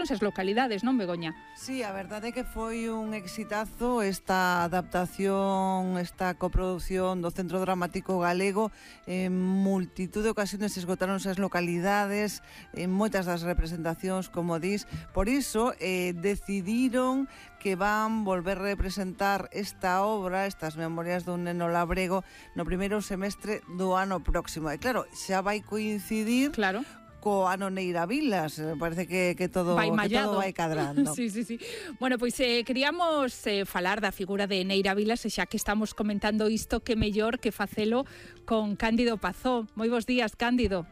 escoitaron esas localidades, non, Begoña? Sí, a verdade é que foi un exitazo esta adaptación, esta coproducción do Centro Dramático Galego. En multitud de ocasiones esgotaron esas localidades, en moitas das representacións, como dis. Por iso decidiron que van volver a representar esta obra, estas memorias dun neno labrego, no primeiro semestre do ano próximo. E claro, xa vai coincidir co ano Neira Vilas, parece que todo vai cadrando. Sí. Bueno, pois queríamos falar da figura de Neira Vilas, e xa que estamos comentando isto, que mellor que facelo con Cándido Pazó. Moi bons días, Cándido.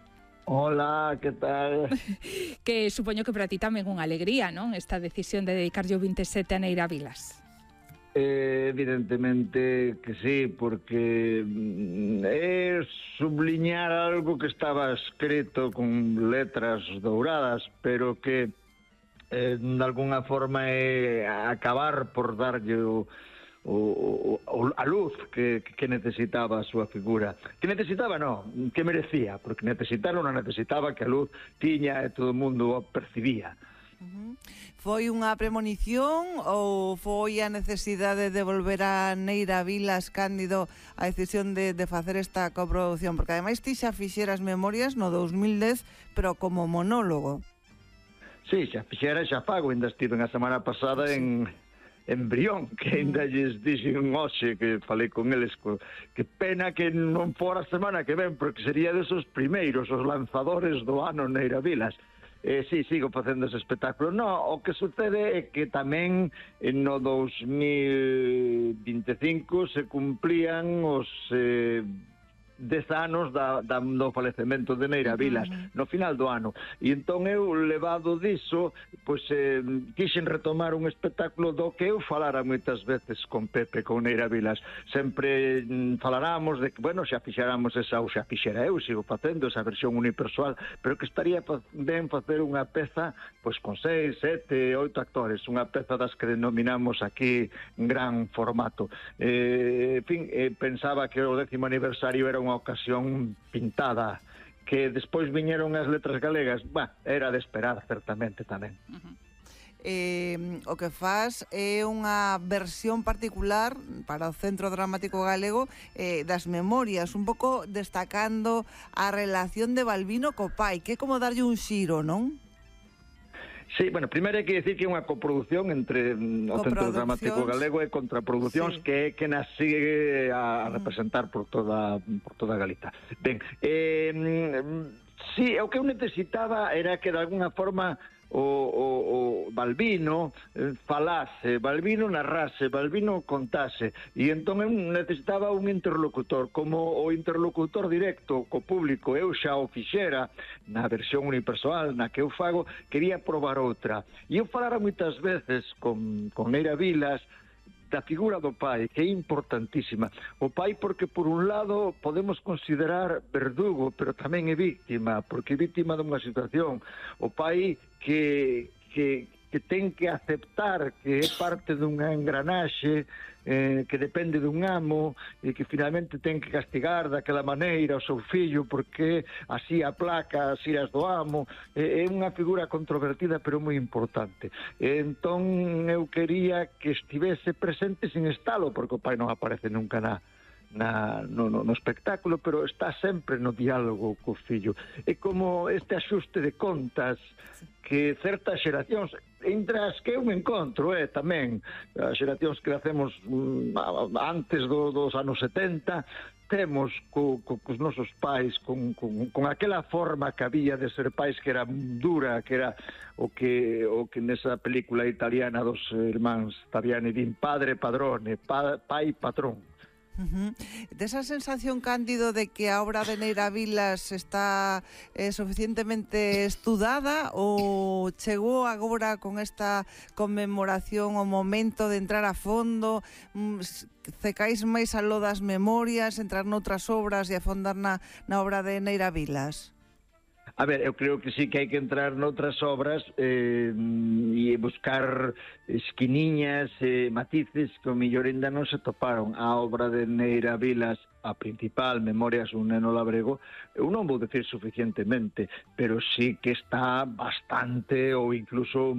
Hola, que tal? Que supoño que para ti tamén unha alegría, non? Esta decisión de dedicarlle o 27 a Neira Vilas. Evidentemente que sí, porque é subliñar algo que estaba escrito con letras douradas, pero que de alguna forma é acabar por darlle a luz que necesitaba a súa figura. Que necesitaba, non, que merecía, porque necesitar non necesitaba, que a luz tiña e todo o mundo o percibía. Foi unha premonición ou foi a necesidade de volver a Neira Vilas, Cándido, a decisión de facer esta coproducción? Porque ademais ti xa fixeras memorias no 2010, pero como monólogo. Sí, xa fixera, xa fago, ainda estive a semana pasada en Brión, que ainda lles dixen hoxe que falei con eles, que pena que non fora a semana que ven, porque sería desos primeiros, os lanzadores do ano Neira Vilas. Sí, sigo facendo ese espectáculo. No, o que sucede é que tamén no 2025 se cumplían os 10 anos do falecemento de Neira Vilas, no final do ano. E entón eu, levado diso, pois quixen retomar un espectáculo do que eu falara moitas veces con Pepe, con Neira Vilas. Sempre falaramos de que, bueno, xa fixéramos esa, ou xa fixera eu, sigo facendo esa versión unipersoal, pero que estaría ben facer unha peza pois con 6, 7, 8 actores, unha peza das que denominamos aquí gran formato. En fin, pensaba que o 10º aniversario era unha ocasión pintada, que despois viñeron as letras galegas, era de esperar certamente tamén. O que faz é unha versión particular para o Centro Dramático Galego das memorias, un pouco destacando a relación de Balbino co pai, que é como darlle un xiro, non? Sí, bueno, primeiro hai que dicir que é unha coproducción entre o Centro Dramático Galego e Contraproduccións, que é que nas sigue a representar por toda Galiza. Ben, sí, o que eu necesitaba era que de alguna forma o Balbino falase, Balbino narrase, Balbino contase, e entón eu necesitaba un interlocutor, como o interlocutor directo co público eu xa o fixera na versión unipersoal na que eu fago, quería probar outra, e eu falara moitas veces con Neira Vilas da figura do pai, que é importantísima. O pai porque, por un lado, podemos considerar verdugo, pero tamén é víctima, porque é víctima dunha situación. O pai que ten que aceptar que é parte dunha engranaxe, que depende dun amo, e que finalmente ten que castigar daquela maneira o seu fillo porque así aplaca as iras do amo. É unha figura controvertida pero moi importante. Entón eu quería que estivese presente sin estalo, porque o pai non aparece nunca no espectáculo, pero está sempre no diálogo co fillo. É como este axuste de contas que certas xeracións, entre as que eu me encontro, tamén as xeracións que hacemos antes dos anos 70, temos cos nosos pais, con aquela forma que había de ser pais, que era dura, que era o que nesa película italiana dos irmáns Taviani din padre padrone, pai patrón. Desa sensación, Cándido, de que a obra de Neira Vilas está suficientemente estudada, ou chegou agora con esta conmemoración o momento de entrar a fondo, cecáis máis aló das memorias, entrar noutras obras e afondar na obra de Neira Vilas? A ver, eu creo que sí que hai que entrar noutras obras e buscar esquiniñas, matices que o mellor ainda non se toparon. A obra de Neira Vilas, a principal, Memorias dun neno labrego, eu non vou decir suficientemente, pero sí que está bastante ou incluso